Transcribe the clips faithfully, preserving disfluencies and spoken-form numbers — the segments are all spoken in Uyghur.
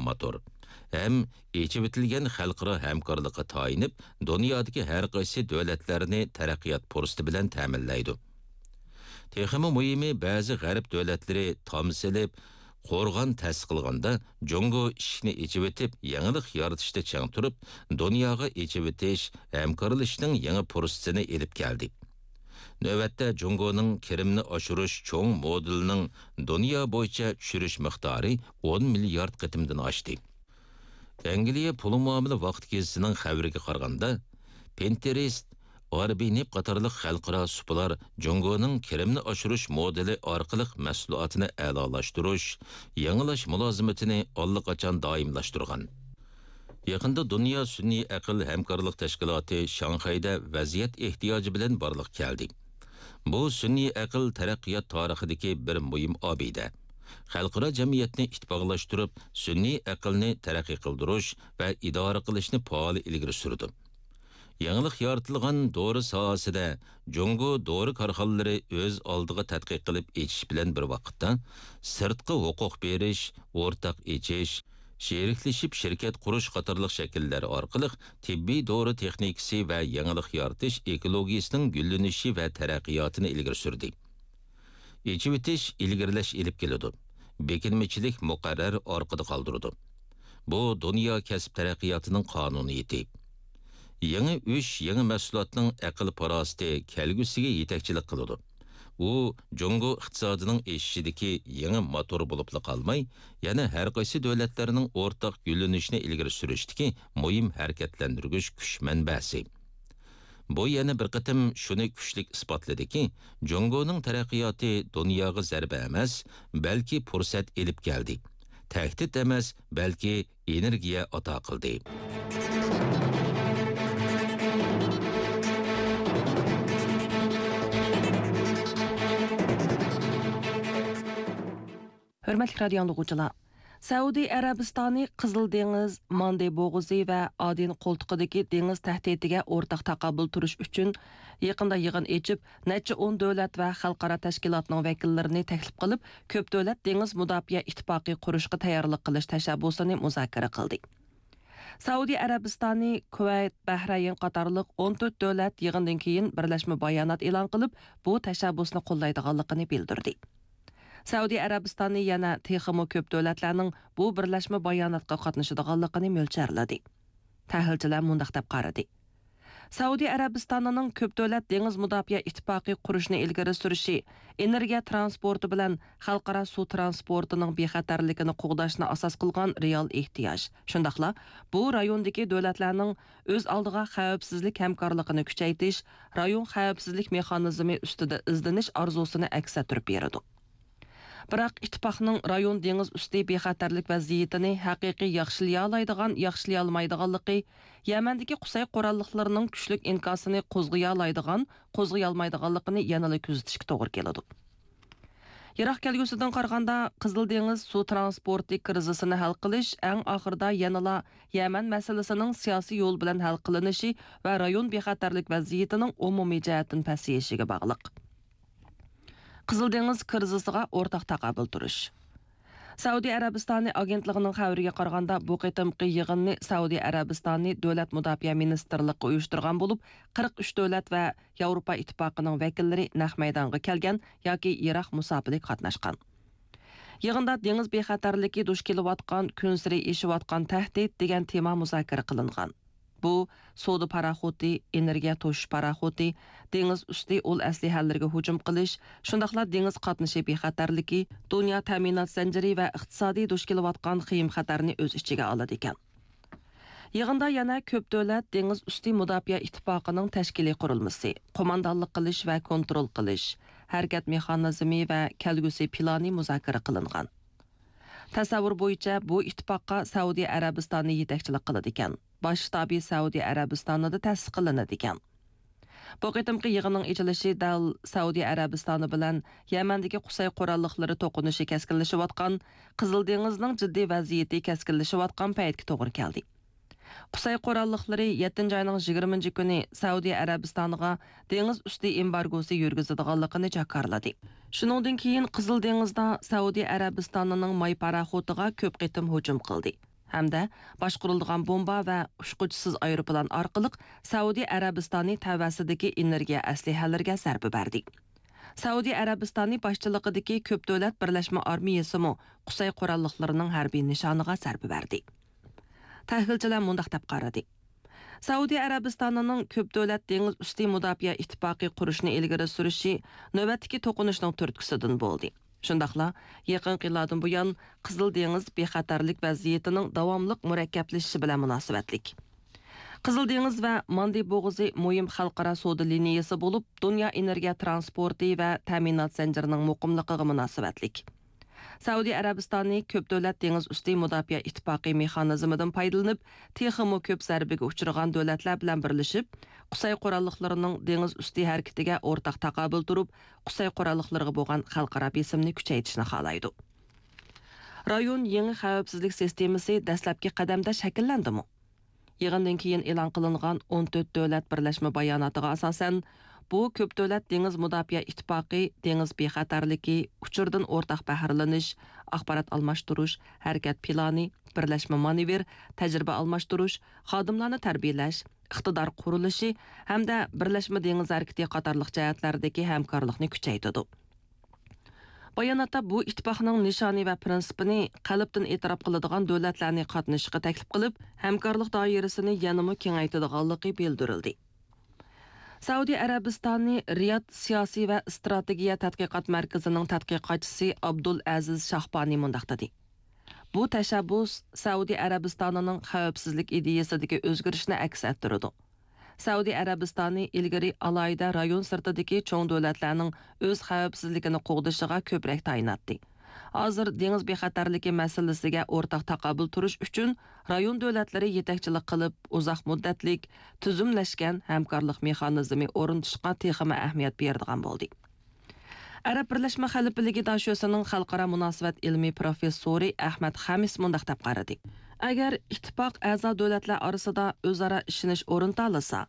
موتور ھەم ئېچىۋېتىلگەن خەلقئارا ھەمكارلىققا تايىنىپ، دۇنيادىكى ھەر قايسى دۆلەتلەرنى تەرەققىيات پۇرسىتى بىلەن تەمىنلەيدۇ. تېخىمۇ مۇھىمى، بەزى غەرب دۆلەتلىرى تام سېلىپ، قورغان تەسىس قىلغاندا، جۇڭگو ئىشىكنى ئېچىۋېتىپ، يېڭىلىق يارىتىشتا چىڭ تۇرۇپ، دۇنياغا ئېچىۋېتىش، ھەمكارلىشىشنىڭ يېڭى پۇرسىتىنى ئېلىپ كەلدى. نۆۋەتتە، جۇڭگونىڭ كىرىمنى ئاشۇرۇش چوڭ مودېلىنىڭ دۇنيا بويىچە چۈشۈرۈش مىقدارى ئون مىليارد قېتىمدىن ئاشتى. ئەنگلىيە پۇل مۇئامىلە ۋاقتى گېزىتىنىڭ خەۋىرىگە قارىغاندا، پىنتېرېست، ئاربىنېپ قاتارلىق خەلقئارا سۇپىلار جۇڭگونىڭ كىرىمنى ئاشۇرۇش مودېلى ئارقىلىق مەھسۇلاتىنى ئەلالاشتۇرۇش، يېڭىلاش مۇلازىمىتىنى ئاللىقاچان دائىملاشتۇرغان. يېقىندا دۇنيا سۈنئىي ئەقىل ھەمكارلىق تەشكىلاتى شاڭخەيدە ۋەزىيەت ئېھتىياجى بىلەن بارلىققا كەلدى. بۇ سۈنئىي ئەقىل تەرەققىيات تارىخىدىكى بىر مۇھىم ئابىدە. خەلقئارا جەمئىيەتنى ئىتتىپاقلاشتۇرۇپ، سۈنئىي ئەقىلنى تەرەققىي قىلدۇرۇش ۋە ئىدارە قىلىشنى پائال ئىلگىرى سۈرىدۇ. يېڭىلىق يارىتىلغان دورا ساھەسىدە جۇڭگو دورا كارخانىلىرى ئۆز ئالدىغا تەتقىق قىلىپ ئېچىش بىلەن بىر ۋاقىتتا، سىرتقا ھوقۇق بېرىش، ئورتاق ئېچىش، شېرىكلىشىپ شىركەت قۇرۇش قاتارلىق شەكىللەر ئارقىلىق تېببىي دورا تېخنىكىسى ۋە يېڭىلىق يارىتىش ئېكولوگىيىسىنىڭ گۈللىنىشى ۋە تەرەققىياتىنى ئىلگىرى سۈردى. ئېچىۋېتىش ئىلگىرىلەش ئېلىپ كېلىدۇ. بېكىنمىچىلىك مۇقەررەر ئارقىدا قالدۇرىدۇ. بۇ دۇنيا كەسىپ تەرەققىياتىنىڭ قانۇنىيىتى. يېڭى ئۈش يېڭى مەھسۇلاتنىڭ ئەقىل-پاراسىتى كەلگۈسىگە يېتەكچىلىك قىلىدۇ. ئۇ جۇڭگو ئىقتىسادىنىڭ ئېشىشىدىكى يېڭى موتور بولۇپلا قالماي، يەنە ھەر قايسى دۆلەتلەرنىڭ ئورتاق گۈللىنىشىنى ئىلگىرى سۈرۈشتىكى مۇھىم ھەرىكەتلەندۈرگۈچ كۈچ مەنبەسى. بۇ يەنە بىر قېتىم شۇنى كۈچلۈك ئىسپاتلىدىكى، جۇڭگونىڭ تەرەققىياتى دۇنياغا زەربە ئەمەس، بەلكى پۇرسەت ئېلىپ كەلدى. تەھدىت ئەمەس، بەلكى ئېنېرگىيە ئاتا قىلدى. ھۆرمەتلىك رادىيو ئاڭلىغۇچىلار! سەئۇدى ئەرەبىستانى قىزىل دېڭىز، ماندې بوغۇزى ۋە ئادېن قولتۇقىدىكى دېڭىز تەھدىتىگە ئورتاق تاقابىل تۇرۇش ئۈچۈن يېقىندا يىغىن ئېچىپ، نەچچە ئون دۆلەت ۋە خەلقئارا تەشكىلاتنىڭ ۋەكىللىرىنى تەكلىپ قىلىپ، كۆپ دۆلەت دېڭىز مۇداپىئە ئىتتىپاقى قۇرۇشقا تەييارلىق قىلىش تەشەببۇسىنى مۇزاكىرە قىلدى. سەئۇدى ئەرەبىستانى، كۇۋەيت، بەھرەيىن قاتارلىق ئون تۆت دۆلەت يىغىندىن كېيىن بىرلەشمە بايانات ئېلان قىلىپ، بۇ تەشەببۇسنى قوللايدىغانلىقىنى بىلدۈردى. سەئۇدى ئەرەبىستانى يەنە تېخىمۇ كۆپ دۆلەتلەرنىڭ بۇ بىرلەشمە باياناتقا قاتنىشىدىغانلىقىنى مۆلچەرلىدى. تەھلىلچىلەر مۇنداق دەپ قارىدى. سەئۇدى ئەرەبىستانىنىڭ كۆپ دۆلەت دېڭىز مۇداپىئە ئىتتىپاقى قۇرۇشنى ئىلگىرى سۈرۈشى، ئېنېرگىيە تىرانسپورتى بىلەن خەلقئارا سۇ تىرانسپورتىنىڭ بىخەتەرلىكىنى قوغداشنى ئاساس قىلغان رېئال ئېھتىياج، شۇنداقلا بۇ رايوندىكى دۆلەتلەرنىڭ ئۆز ئالدىغا خەۋپسىزلىك ھەمكارلىقىنى كۈچەيتىش، رايون خەۋپسىزلىك مېخانىزمى ئۈستىدە ئىزدىنىش ئارزۇسىنى ئەكس ئەتتۈرۈپ بېرىدۇ. بىراق، ئىتتىپاقنىڭ رايون دېڭىز ئۈستى بىخەتەرلىك ۋەزىيىتىنى ھەقىقىي ياخشىلىيالايدىغان، ياخشىلىيالمايدىغانلىقى، يەمەندىكى قۇسەي قوراللىقلىرىنىڭ كۈچلۈك ئىنكاسىنى قوزغىيالايدىغان، قوزغىيالمايدىغانلىقىنى يەنىلا كۆزىتىشكە توغرا كېلىدۇ. يىراق كەلگۈسىدىن قارىغاندا، قىزىل دېڭىز سۇ تىرانسپورتى كىرىزىسىنى ھەل قىلىش ئەڭ ئاخىرىدا يەنىلا يەمەن مەسىلىسىنىڭ سىياسىي يول بىلەن ھەل قىلىنىشى ۋە رايون بىخەتەرلىك ۋەزىيىتىنىڭ ئومۇمىي جەھەتتىن پەسىيىشىگە باغلىق. قىزىل دېڭىز كىرىزىسىغا ئورتاق تاقابىل تۇرۇش. سەئۇدى ئەرەبىستانى ئاگېنتلىقىنىڭ خەۋىرىگە قارىغاندا، بۇ قېتىمقى يىغىننى سەئۇدى ئەرەبىستانى دۆلەت مۇداپىئە مىنىستىرلىقى ئۇيۇشتۇرغان بولۇپ، قىرىق ئۈچ دۆلەت ۋە ياۋروپا ئىتتىپاقىنىڭ ۋەكىللىرى نەق مەيدانغا كەلگەن ياكى يىراق مۇساپىلىك قاتناشقان. يىغىندا دېڭىز بىخەتەرلىكى دۇچ كېلىۋاتقان، كۈنسېرى ئېشىۋاتقان تەھدىت دېگەن تېما مۇزاكىرە قىلىنغان. بۇ، سودا پاراخوتى، ئېنېرگىيە توشۇش پاراخوتى، دېڭىز ئۈستى ئۇل ئەسلىھەلىرىگە ھۇجۇم قىلىش، شۇنداقلا دېڭىز قاتنىشى بىخەتەرلىكى، دۇنيا تەمىنات زەنجىرى ۋە ئىقتىسادىي دۇچ كېلىۋاتقان خېيىم خەتەرنى ئۆز ئىچىگە ئالىدىكەن. يىغىندا يەنە كۆپ دۆلەت دېڭىز ئۈستى مۇداپىئە ئىتتىپاقىنىڭ تەشكىلىي قۇرۇلمىسى، قوماندانلىق قىلىش ۋە كونترول قىلىش، ھەرىكەت مېخانىزمى ۋە كەلگۈسى پىلانى مۇزاكىرە قىلىنغان. تەسەۋۋۇر بويىچە، بۇ ئىتتىپاققا سەئۇدى ئەرەبىستانى يېتەكچىلىك قىلىدىكەن. باش شتابى سەئۇدى ئەرەبىستانىدا تەسىس قىلىنىدىكەن. بۇ قېتىمقى يىغىننىڭ ئېچىلىشى دەل سەئۇدى ئەرەبىستانى بىلەن يەمەندىكى قۇسەي قوراللىقلىرى توقۇنۇشى كەسكىنلىشىۋاتقان، قىزىل دېڭىزنىڭ جىددىي ۋەزىيىتى كەسكىنلىشىۋاتقان پەيتكە توغرا كەلدى. قۇسەي قوراللىقلىرى يەتتىنچى ئاينىڭ يىگىرمىنچى كۈنى سەئۇدى ئەرەبىستانىغا دېڭىز ئۈستى ئېمبارگوسى يۈرگۈزىدىغانلىقىنى جاكارلىدى. شۇنىڭدىن كېيىن قىزىل دېڭىزدا سەئۇدى ئەرەبىستانىنىڭ ماي پاراخوتىغا كۆپ قېتىم ھۇجۇم قىلدى. ھەمدە باشقۇرۇلىدىغان بومبا ۋە ئۇچقۇچىسىز ئايروپىلان ئارقىلىق سەئۇدى ئەرەبىستانى تەۋەسىدىكى ئېنېرگىيە ئەسلىھەلىرىگە زەربە بەردى. سەئۇدى ئەرەبىستانى باشچىلىقىدىكى كۆپ دۆلەت بىرلەشمە ئارمىيىسىمۇ قۇسەي قوراللىقلىرىنىڭ ھەربىي نىشانىغا زەربە بەردى. تەھلىلچىلەر مۇنداق دەپ قارىدى. سەئۇدى ئەرەبىستانىنىڭ كۆپ دۆلەت دېڭىز ئۈستى مۇداپىئە ئىتتىپاقى قۇرۇشنى ئىلگىرى سۈرۈشى نۆۋەتتىكى توقۇنۇشنىڭ تۈرتكىسىدىن بولدى. شۇنداقلا يېقىنقى يىللاردىن بۇيان قىزىل دېڭىز بىخەتەرلىك ۋەزىيىتىنىڭ داۋاملىق مۇرەككەپلىشىشى بىلەن مۇناسىۋەتلىك. قىزىل دېڭىز ۋە ماندى بوغۇزى مۇھىم خەلقئارا سودا لىنىيىسى بولۇپ، دۇنيا ئېنېرگىيە ترانسپورتى ۋە تەمىنات زەنجىرىنىڭ مۇقىملىقىغا مۇناسىۋەتلىك. سەئۇدى ئەرەبىستانى كۆپ دۆلەت دېڭىز ئۈستى مۇداپىئە ئىتتىپاقى مېخانىزمىدىن پايدىلىنىپ، تېخىمۇ كۆپ زەربىگە ئۇچرىغان دۆلەتلەر بىلەن بىرلىشىپ، قۇسەي قوراللىقلىرىنىڭ دېڭىز ئۈستى ھەرىكىتىگە ئورتاق تاقابىل تۇرۇپ، قۇسەي قوراللىقلىرىغا بولغان خەلقئارا بېسىمنى كۈچەيتىشنى خالايدۇ. رايون يېڭى خەۋپسىزلىك سىستېمىسى دەسلەپكى قەدەمدە شەكىللەندىمۇ؟ يىغىندىن كېيىن ئېلان قىلىنغان ئون تۆت دۆلەت بىرلەشمە باياناتىغا ئاساسەن، بۇ كۆپ دۆلەت دېڭىز مۇداپىئە ئىتتىپاقى دېڭىز بىخەتەرلىكى، ئۇچۇردىن ئورتاق بەھرىلىنىش، ئاخبارات ئالماشتۇرۇش، ھەرىكەت پىلانى، بىرلەشمە مانېۋىر، تەجرىبە ئالماشتۇرۇش، خادىملارنى تەربىيەلەش، ئىقتىدار قۇرۇلۇشى ھەمدە بىرلەشمە دېڭىز ھەرىكىتى قاتارلىق جەھەتلەردىكى ھەمكارلىقنى كۈچەيتىدۇ. باياناتتا بۇ ئىتتىپاقنىڭ نىشانى ۋە پىرىنسىپىنى قەلبتىن ئېتىراپ قىلىدىغان دۆلەتلەرنى قاتنىشىشقا تەكلىپ قىلىپ، ھەمكارلىق دائىرىسىنى يەنىمۇ كېڭەيتىدىغانلىقى بىلدۈرۈلدى. سەئۇدى ئەرەبىستانى رىياد سىياسىي ۋە ئىستراتېگىيە تەتقىقات مەركىزىنىڭ تەتقىقاتچىسى ئابدۇل ئەزىز شاھبانى مۇنداق دېدى: بۇ تەشەببۇس سەئۇدى ئەرەبىستانىنىڭ خەۋپسىزلىك ئىدىيىسىدىكى ئۆزگىرىشنى ئەكس ئەتتۈرىدۇ. سەئۇدى ئەرەبىستانى ئىلگىرى ئالاھىدە رايون سىرتىدىكى چوڭ دۆلەتلەرنىڭ ئۆز خەۋپسىزلىكىنى قوغدىشىغا كۆپرەك تايىناتتى. ھازىر دېڭىز بىخەتەرلىكى مەسىلىسىگە ئورتاق تاقابىل تۇرۇش ئۈچۈن رايون دۆلەتلىرى يېتەكچىلىك قىلىپ، ئۇزاق مۇددەتلىك، تۈزۈملەشكەن ھەمكارلىق مېخانىزمى ئورنىتىشقا تېخىمۇ ئەھمىيەت بېرىدىغان بولدى. ئەرەب بىرلەشمە خەلىپىلىكى داشۆسىنىڭ خەلقئارا مۇناسىۋەت ئىلمىي پروفېسسورى ئەخمەت خەمىس مۇنداق دەپ قارىدى: ئەگەر ئىتتىپاق ئەزا دۆلەتلەر ئارىسىدا ئۆزئارا ئىشىنىش ئورنىتالىسا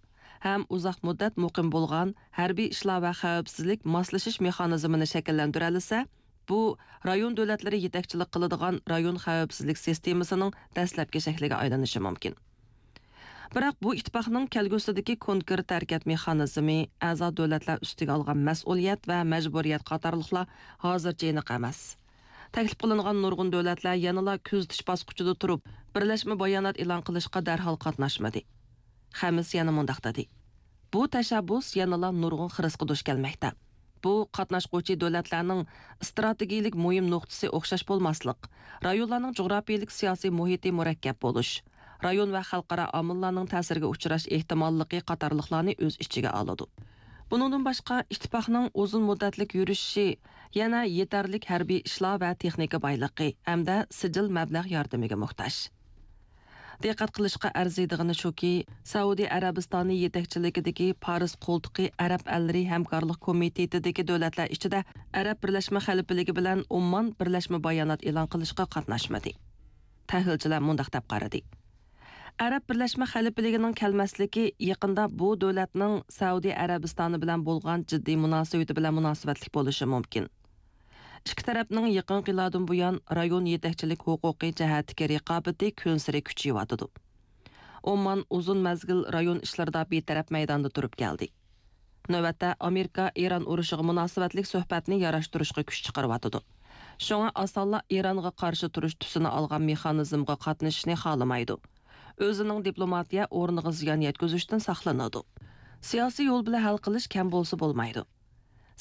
ھەم ئۇزاق مۇددەت مۇقىم بولغان ھەربىي ئىشلار ۋە خەۋپسىزلىك ماسلىشىش مېخانىزمىنى شەكىللەندۈرەلىسە، بۇ رايون دۆلەتلىرى يېتەكچىلىك قىلىدىغان رايون خەۋپسىزلىك سىستېمىسىنىڭ دەسلەپكى شەكلىگە ئايلىنىشى مۇمكىن. بىراق بۇ ئىتتىپاقنىڭ كەلگۈسىدىكى كونكرېت ھەرىكەت مېخانىزمى، ئەزا دۆلەتلەر ئۈستىگە ئالغان مەسئۇلىيەت ۋە مەجبۇرىيەت قاتارلىقلار ھازىرچە ئېنىق ئەمەس. تەكلىپ قىلىنغان نۇرغۇن دۆلەتلەر يەنىلا كۆزىتىش باسقۇچىدا تۇرۇپ، بىرلەشمە بايانات ئېلان قىلىشقا دەرھال قاتناشمىدى. خەمىس يەنە مۇنداق دېدى: بۇ تەشەببۇس يەنىلا نۇرغۇن خىرىسقا دۇچ كەلمەكتە. بۇ قاتناشقۇچى دۆلەتلەرنىڭ ئىستراتېگىيىلىك مۇھىم نۇقتىسى ئوخشاش بولماسلىق، رايونلارنىڭ جۇغراپىيىلىك سىياسىي مۇھىتى مۇرەككەپ بولۇش، رايون ۋە خەلقئارا ئامىللارنىڭ تەسىرىگە ئۇچراش ئېھتىماللىقى قاتارلىقلارنى ئۆز ئىچىگە ئالىدۇ. بۇنىڭدىن باشقا، ئىتتىپاقنىڭ ئۇزۇن مۇددەتلىك يۈرۈشۈشى يەنە يېتەرلىك ھەربىي ئىشلار ۋە تېخنىكا بايلىقى ھەمدە سىجىل مەبلەغ ياردىمىگە موھتاج. دىققەت قىلىشقا ئەرزىيدىغىنى شۇكى، سەئۇدى ئەرەبىستانى يېتەكچىلىكىدىكى پارس قولتۇقى ئەرەب ئەللىرى ھەمكارلىق كومىتېتىدىكى دۆلەتلەر ئىچىدە ئەرەب بىرلەشمە خەلىپىلىكى بىلەن ئومان بىرلەشمە بايانات ئېلان قىلىشقا قاتناشمىدى. تەھلىلچىلەر مۇنداق دەپ قارىدى: ئەرەب بىرلەشمە خەلىپىلىكىنىڭ كەلمەسلىكى يېقىندا بۇ دۆلەتنىڭ سەئۇدى ئەرەبىستانى بىلەن بولغان جىددىي مۇناسىۋىتى بىلەن مۇناسىۋەتلىك بولۇشى مۇمكىن. ئىككى تەرەپنىڭ يېقىنقى يىللاردىن بۇيان رايون يېتەكچىلىك ھوقۇقى جەھەتتىكى رىقابىتى كۈنسېرى كۈچىيىۋاتىدۇ. ئومان ئۇزۇن مەزگىل رايون ئىشلىرىدا بىتەرەپ مەيداندا تۇرۇپ كەلدى. نۆۋەتتە ئامېرىكا ئىران ئۇرۇشىغا مۇناسىۋەتلىك سۆھبەتنى ياراشتۇرۇشقا كۈچ چىقىرىۋاتىدۇ. شۇڭا ئاسانلا ئىرانغا قارشى تۇرۇش تۈسىنى ئالغان مېخانىزمغا قاتنىشىشنى خالىمايدۇ. ئۆزىنىڭ دىپلوماتىيە ئورنىغا زىيان يەتكۈزۈشتىن ساقلىنىدۇ. سىياسىي يول بىلەن ھەل قىلىش كەم بولسا بولمايدۇ.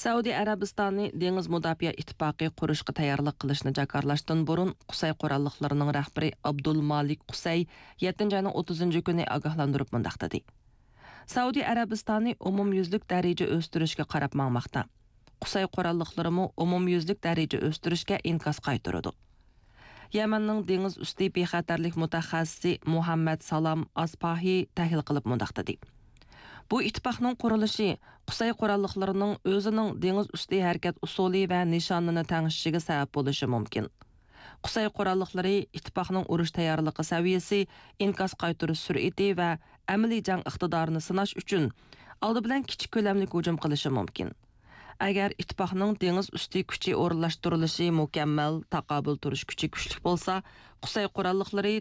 سەئۇدى ئەرەبىستانى دېڭىز مۇداپىئە ئىتتىپاقى قۇرۇشقا تەييارلىق قىلىشنى جاكارلاشتىن بۇرۇن، قۇسەي قوراللىقلىرىنىڭ رەھبىرى ئابدۇل مالىك قۇسەي يەتتىنچى ئاينىڭ ئوتتۇزىنچى كۈنى ئاگاھلاندۇرۇپ مۇنداق دېدى: سەئۇدى ئەرەبىستانى ئومۇميۈزلۈك دەرىجە ئۆستۈرۈشكە قاراپ ماڭماقتا. قۇسەي قوراللىقلىرىمۇ ئومۇميۈزلۈك دەرىجە ئۆستۈرۈشكە ئىنكاس قايتۇرىدۇ. يەمەننىڭ دېڭىز ئۈستى بىخەتەرلىك مۇتەخەسسىسى مۇھەممەد سالام ئاسپاھى تەھلىل قىلىپ مۇنداق دېدى: بۇ ئىتتىپاقنىڭ قۇرۇلۇشى قۇسەي قوراللىقلىرىنىڭ ئۆزىنىڭ دېڭىز ئۈستى ھەرىكەت ئۇسۇلى ۋە نىشانىنى تەڭشىشىگە سەۋەب بولۇشى مۇمكىن. قۇسەي قوراللىقلىرى ئىتتىپاقنىڭ ئۇرۇش تەييارلىقى سەۋىيەسى، ئىنكاس قايتۇرۇش سۈرئىتى ۋە ئەمەلىي جەڭ ئىقتىدارىنى سىناش ئۈچۈن، ئالدى بىلەن كىچىك كۆلەملىك ھۇجۇم قىلىشى مۇمكىن. ئەگەر ئىتتىپاقنىڭ دېڭىز ئۈستى كۈچى ئورۇنلاشتۇرۇلۇشى مۇكەممەل، تاقابىل تۇرۇش كۈچى كۈچلۈك بولسا، قۇسەي قوراللىقلىرى